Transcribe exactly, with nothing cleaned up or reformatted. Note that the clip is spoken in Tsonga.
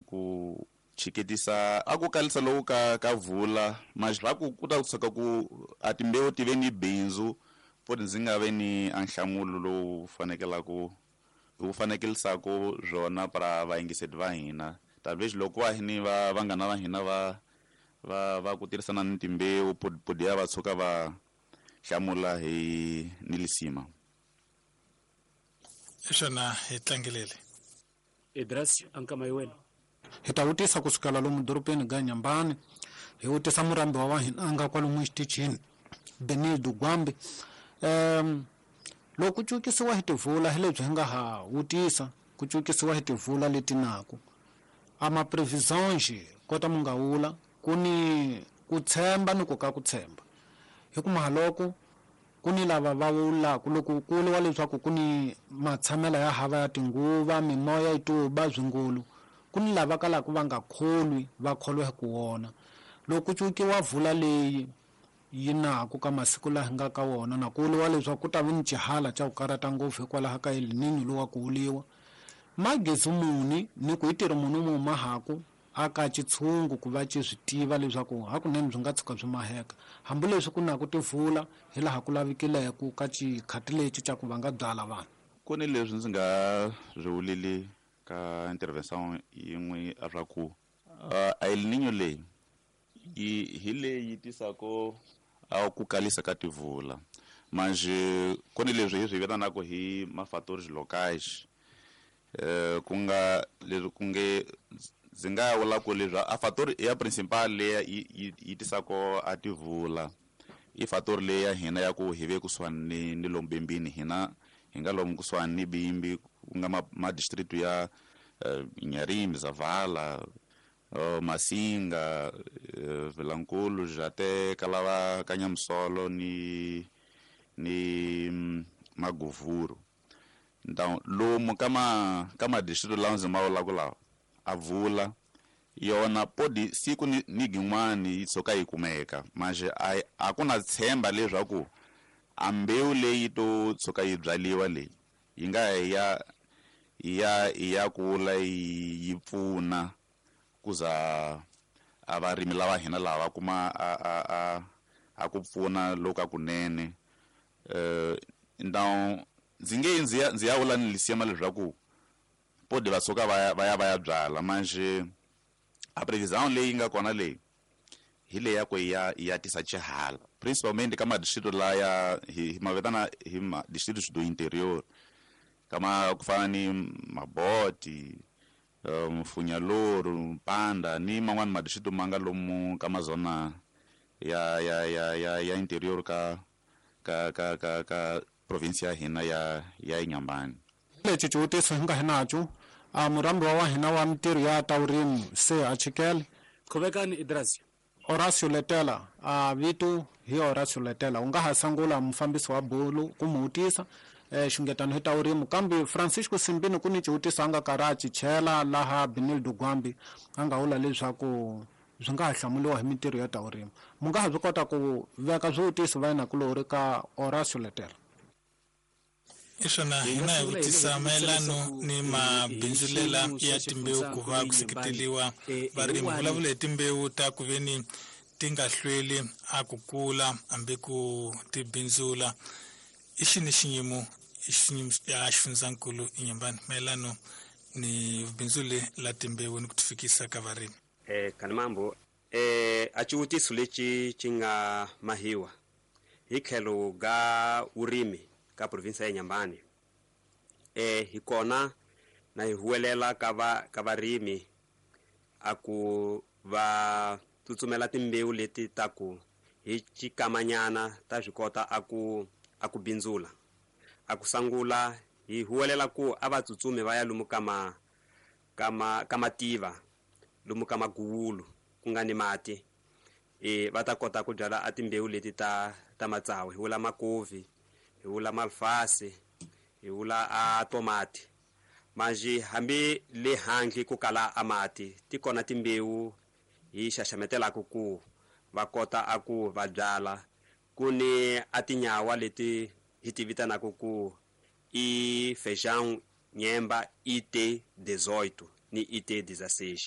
ku chiketisa a ku kalisa loku ka ka vula ma ku ku ta kusuka ku a timbewu ti ve ni bindzu poti ndzi nga ve ni a nhlamulo lowu fanekelaku wu fanekelisaka swona para vayingiseri va hina tanihileswi loko va ni va vanghana va hina va va va ku tirhisana ni timbewu podi ya va tshuka va hlamula hi ni lisima. Xana hi tlangelele Idras ankama wena. Hi ta vutisa kusukela lomu dorobeni ga Nyambani, hi vutisa murhambiwa wa hina a nga kwalomu xitichini Benildo Gwambi. um loko ku cukisiwa hi tivula hi lebyi hi nga ha vutisa ku cukisiwa hi tivula leti naku a ma previsions kota mu nga wula ku ni ku tshemba ni ku ka ku tshemba hi ku mahaloko ku ni lava va wulaku loko ku vuriwa leswaku ku ni matshamelo ya hava ya tinguva mimoya yi tuba swingulu ku ni lava kalaka va nga kholwi va kholwa hi ku wona loko ku cukiwa vula leyi yi naku ka masiku laha hi nga ka wona na ku vuriwa leswaku ku ta va ni xihala xa ku karata ngopfu hikwalaho ka El Niño lowa ku vuliwa magezi muni ni ku hi tirhi munhu mu mahaku a ka xitshungu ku va xi swi tiva leswaku hakunene byi nga tshuka byi maheka hambileswi ku na ku tivula hi laha ku lavikileke ka xikhati lexi xa ku va nga byala vanhu. Ku ni leswi ndzi nga swi vuleli ka intervention yin'we a swa ku a El Niño leyi yi hi leyi tisaka a ku kalisa ka tivula manje ku ni leswi hi swi vitanaka hi ma-fatores locais eh ku nga leswi ku nge ndzi nga vula ku leswi a fator ya principal leyi yi yi tisaka a tivula i fator leyi ya hina ya ku hi ve kusuhani ni ni lomu bimbini hina hi nga lomu kusuhani ni bimbi ku nga ma, ma district ya uh, Inharime, Zavala, uh, Masinga, uh, Vilankulu, Jate, Kalava, Kanyamusolo ni ni mm, Maguvuru. Então lomu ka ma ka ma district lawa ndzi ma vulaka lawa a vula yona podi siku ni, ni gin'wani yi tshuka yi kumeka manje a a ku na tshemba leswaku a mbewu leyi to tshuka yi byaliwa leyi yi nga ya ya ya kula yi pfuna kuza a varimi lava hina lava va kuma a a a a ku pfuna loku kunene. eh então ndzi nge ndzi ya ndzi ya vula ni lisima leswaku podi va tshuka va ya va ya va ya byala manje a previsão leyi nga kona leyi hi leyi ya ku ya ya tisa xihala principalmente ka madistrito laya hi hi ma vitana hi ma distritos do interior kama ku fana ni Maboti, Mfunyaluru, Mpanda ni man'wani madistrito ma nga lomu ka mazona ya ya ya ya ya interior ka ka ka ka ka province ya hina ya ya Inhambane. Lexi xivutiso hi nga hi naco a murhambiwa wa hina wa mintirho ya ta vurimi se a chikele Khomekani Idras. Horacio Letela a vito hi Horacio Letela u nga ha sungula mufambisi wa bulu ku mu vutisa eh xungetano hi ta vurimi kambe Francisco Simbini ku ni xivutiso a nga karhi a chichela laha Benildo Gwambi a nga vula leswaku swi nga ha hlamuliwa hi mintirho ya ta vurimi mu nga ha swi kota ku veka swivutiso va yinakulori ka Horacio Letela. Iswona hina hi vutisa mayelano ni mabindzulela ya timbewu ku va ku seketeliwa varimi vulavula hi timbewu ta ku veni ti nga hlweli a ku kula hambi ku ti bindzula i xini xinyimo xiyimo ya xifundzankulu Inhambane mayelano ni bindzuli la timbewu ni ku ti fikisa ka varimi. Eh kanimambo eh a xivutiso lexi xi nga mahiwa hi tlhelo ga vurimi ka province ya Inhambane eh hi kona na hi huwelela ka va ka varimi a ku va tsutsumela timbewu leti ta ku hi xikamanyana ta swi kota a ku a ku bindzula a ku sangula hi huwelela ku a va tsutsumi va ya lomu ka ma ka ma ka mativa lomu ka maguwulu ku nga ni mati e va ta kota ku byala a timbewu leti ta ta matsawu hi vula makovi hi vula malfasi hi vula a tomati manje hambi le handle ku kala a mati ti kona timbewu hi xaxametelaka ku va kota a ku va byala ku ni a tinyawa leti hi ti vitanaka ku i feijão nyemba I T dezoito ni I T dezesseis.